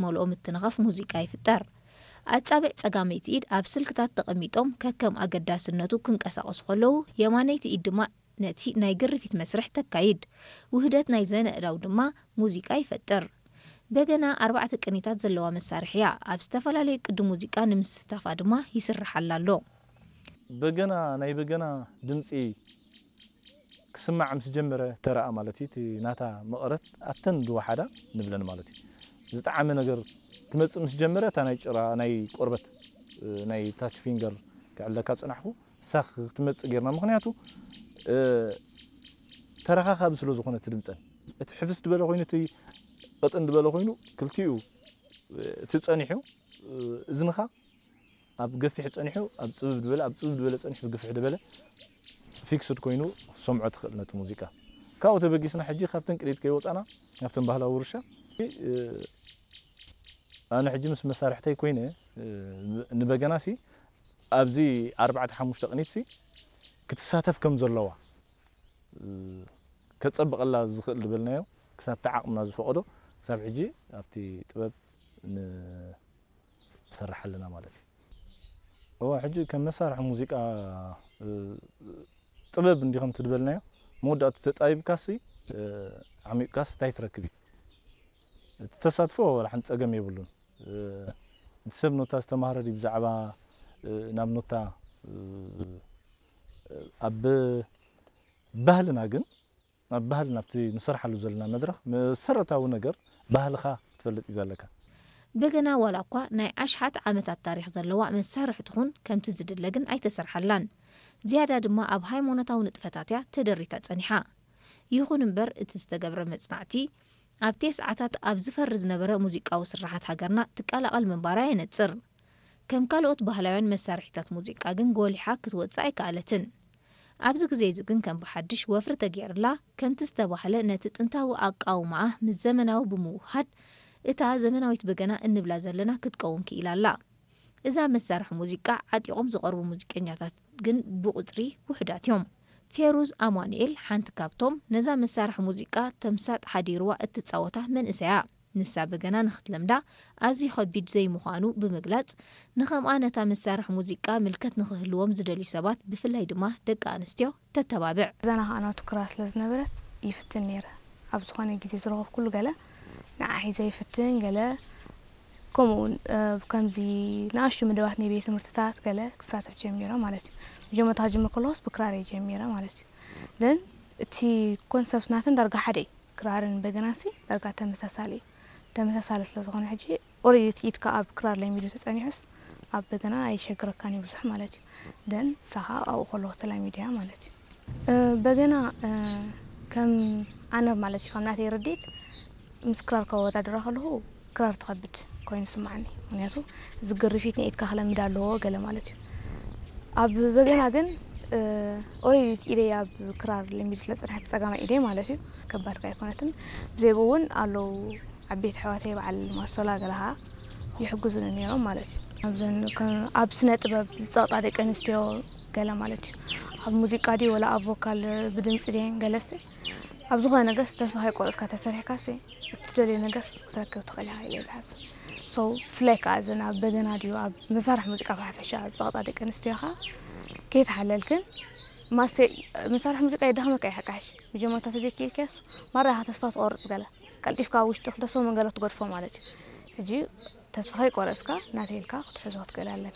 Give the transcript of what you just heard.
ዝመልኦ ምትንኻፍ ሙዚቃ ይፍጠር። ኣጻብዕ ጸጋመይቲ ኢድ ኣብ ስልክታት ተቐሚጦም ከከም ኣገዳስነቱ ክንቀሳቐሱ ከለዉ፣ የማነይቲ ኢድ ድማ ነቲ ናይ ግርፊት መስርሕ ተካይድ። ውህደት ናይ ዘነ ኣእዳው ድማ ሙዚቃ ይፈጥር። በገና ኣርባዕተ ቅኒታት ዘለዋ መሳርሒ እያ። ኣብ ዝተፈላለዩ ቅዲ ሙዚቃ ንምስታፋ ድማ ይስርሓላ ኣሎ። በገና፣ ናይ በገና ድምፂ ክስማዕ ምስ ጀመረ፣ ተረኣ ማለት እዩ። እቲ ናታ መቐረት ኣብተን ዝወሓዳ ንብለን ማለት እዩ። ዝጠዓመ ነገር ክመፅእ ምስ ጀመረ፣ እታ ናይ ጭራ፣ ናይ ቆርበት፣ እ፣ ናይ ታች ፊንገር ክዕለካ ፅናሕኩ፣ ሳኽ ክትመፅእ ጌርና። ምኽንያቱ፣ እ፣ ተረኻኻቢ ስለ ዝኾነ እቲ ድምፀን፣ እቲ ሕፍስ ዝበለ ኮይኑ፣ እቲ ቅጥን ዝበለ ኮይኑ፣ ክልቲኡ፣ እ፣ እቲ ፀኒሑ፣ እ፣ እዝንኻ ኣብ ገፊሕ ጸኒሑ፣ ኣብ ጽብብ ዝበለ፣ ኣብ ጽብብ ዝበለ ጸኒሑ፣ ግፍሕ ዝበለ ፊክስድ ኮይኑ ክትሰምዖ ትኽእል ነቲ ሙዚቃ። ካብኡ ተበጊስና ሕጂ ካብተን ቅኒት ከይወጻና፣ ናብተን ባህላዊ ውርሻ፣ እ፣ ኣነ ሕጂ ምስ መሳርሕተይ ኮይነ፣ እ፣ ንበገናሲ ኣብዚ ኣርባዕተ ሓሙሽተ ቅኒትሲ ክትሳተፍ ከም ዘለዋ፣ እ፣ ከጸብቐላ ዝኽእል ዝበልናዮ፣ ክሳብ እቲ ዓቕምና ዝፈቐዶ፣ ክሳብ ሕጂ ኣብቲ ጥበብ ን-፣ ንሰርሕ ኣለና ማለት እዩ። እወ፣ ሕጂ ከም መሳርሒ ሙዚቃ፣ እ፣ ጥበብ እንዲኹም ትድበልናዮ፣ መወዳእቱ ተጣቢብካሲ፣ እ፣ ዓሚቕካስ እንታይ ትረክብ እዩ? እቲ ተሳትፎ ዋላ ሓንቲ ጸገም የብሉን። እ፣ እቲ ሰብ ኖታ ዝተማህረ ድዩ ብዛዕባ፣ እ፣ ናብ ኖታ፣ እ፣ ኣብ ባህልና ግን፣ ናብ ባህልና ኣብቲ ንሰርሓሉ ዘለና መድረኽ መሰረታዊ ነገር ባህልኻ ክትፈልጥ እዩ ዘለካ። በገና ዋላ እኳ ናይ ኣሽሓት ዓመታት ታሪኽ ዘለዋ መሳርሒ ትኹን፣ ከምቲ ዝድለ ግን ኣይተሰርሓላን። ዝያዳ ድማ ኣብ ሃይማኖታዊ ንጥፈታት እያ ተደሪታ ጸኒሓ። ይኹን እምበር፣ እቲ ዝተገብረ መጽናዕቲ፣ ኣብ ቴስዓታት ኣብ ዝፈሪ ዝነበረ ሙዚቃዊ ስርሓት ሃገርና ትቀላቐል ምንባራ የነጽር። ከም ካልኦት ባህላውያን መሳርሒታት ሙዚቃ ግን ጎሊሓ ክትወጽእ ኣይከኣለትን። ኣብዚ ግዜ እዚ ግን ከም ብሓድሽ ወፍሪ ተገይርላ፣ ከምቲ ዝተባህለ ነቲ ጥንታዊ ኣቃውማኣ ምስ ዘመናዊ ብምውህሃድ፣ እታ ዘመናዊት በገና እንብላ ዘለና ክትከውን ክኢላ ኣላ። እዛ መሳርሒ ሙዚቃ ዓጢቖም ዝቐርቡ ሙዚቀኛታት ግን ብቑጽሪ ውሑዳት እዮም። ፌሩዝ ኣማኑኤል ሓንቲ ካብቶም ነዛ መሳርሒ ሙዚቃ ተምሳጥ ሓዲርዋ እትጻወታ መንእሰይ እያ። ንሳ በገና ንኽትለምዳ ኣዝዩ ከቢድ ዘይምዃኑ ብምግላጽ፣ ንኸምኣ ነታ መሳርሒ ሙዚቃ ምልከት ንኽህልዎም ዝደልዩ ሰባት፣ ብፍላይ ድማ ደቂ ኣንስትዮ፣ ተተባብዕ። እዛና ከዓ ናቱ ክራር ስለ ዝነበረት ይፍትን ነይረ። ኣብ ዝኾነ ግዜ ዝረኸብኩሉ ገለ ንዓ ሒዘ ይፍትን፣ ገለ ከምኡ እውን፣ እ፣ ከምዚ ንኣሽቱ መደባት ናይ ቤት ትምህርትታት ገለ ክሳተፍ ጀሚረ ማለት እዩ። መጀመርታ ክጅምር ከለኹስ ብክራር እየ ጀሚረ ማለት እዩ። ግን እቲ ኮንሰፕት ናተን ዳርጋ ሓደ እዩ። ክራርን በገናሲ ዳርጋ ተመሳሳሊ እዩ። ተመሳሳሊ ስለ ዝኾነ ሕጂ ኦልሬዲ እቲ ኢድካ ኣብ ክራር ለሚዱ ተጸኒሑስ ኣብ በገና ኣይሸግረካን እዩ ብዙሕ ማለት እዩ። ደን ንሳ ኸኣ ኣብኡ ከለኹ ተላሚደያ ማለት እዩ። እ፣ በገና፣ እ፣ ከም ኣነ ማለት እዩ፣ ከም ናተይ ርድኢት ምስ ክራር ከወዳድራ ከለኹ ክራር ትኸብድ ኮይኑ ይስምዓኒ። ምኽንያቱ እዚ ግርፊት ናይ ኢድካ ክለምድ ኣለዎ ገለ ማለት እዩ። ኣብ በገና ግን፣ እ፣ ኦልሬዲ እቲ ኢደይ ኣብ ክራር ለሚዱ ስለ ዝጸንሐ፣ እቲ ጸጋማይ ኢደይ ማለት እዩ፣ ከባድ ከ ኣይኮነትን። ብዘይ ብኡ እውን ኣለዉ ዓበይቲ ኣሕዋተይ በዓል ማሶላ ገለ ኸዓ ይሕግዙኒ ነይሮም ማለት እዩ። ኣብዘን ከ-፣ ኣብ ስነ ጥበብ ዝጸቕጣ ደቂ ኣንስትዮ ገለ ማለት እዩ። ኣብ ሙዚቃ ድዩ ወላ ኣብ ቮካል ብድምጺ ድየን ገለሲ ኣብ ዝኾነ ነገርስ ተስፋ ከይቆረጽካ ተሰሪሕካሲ እትደልዮ ነገርስ ክትረክብ ትኽእል ኢኻ ኢለ እየ ዝሓስብ። So ብፍላይ ከኣ እዘን ኣብ በገና ድዩ ኣብ መሳርሒ ሙዚቃ ብሓፈሻ ዝጸቕጣ ደቂ ኣንስትዮ ኸኣ ከይተሓለልክን ማሰ-፣ መሳርሒ ሙዚቃ የዳኽመካ እዩ ሓቃሽ። መጀመርታ ተዘይክኢልካዮስ ማራ ኢኻ ተስፋ ትቖርጽ ገለ። ቀልጢፍካ ኣብ ውሽጢ ክልተ ሰሙን ገለ ትገድፎ ማለት እዩ። ሕጂ ተስፋ ከይቆረጽካ ናተይ ኢልካ ክትሕዞ ክትክእል ኣለካ።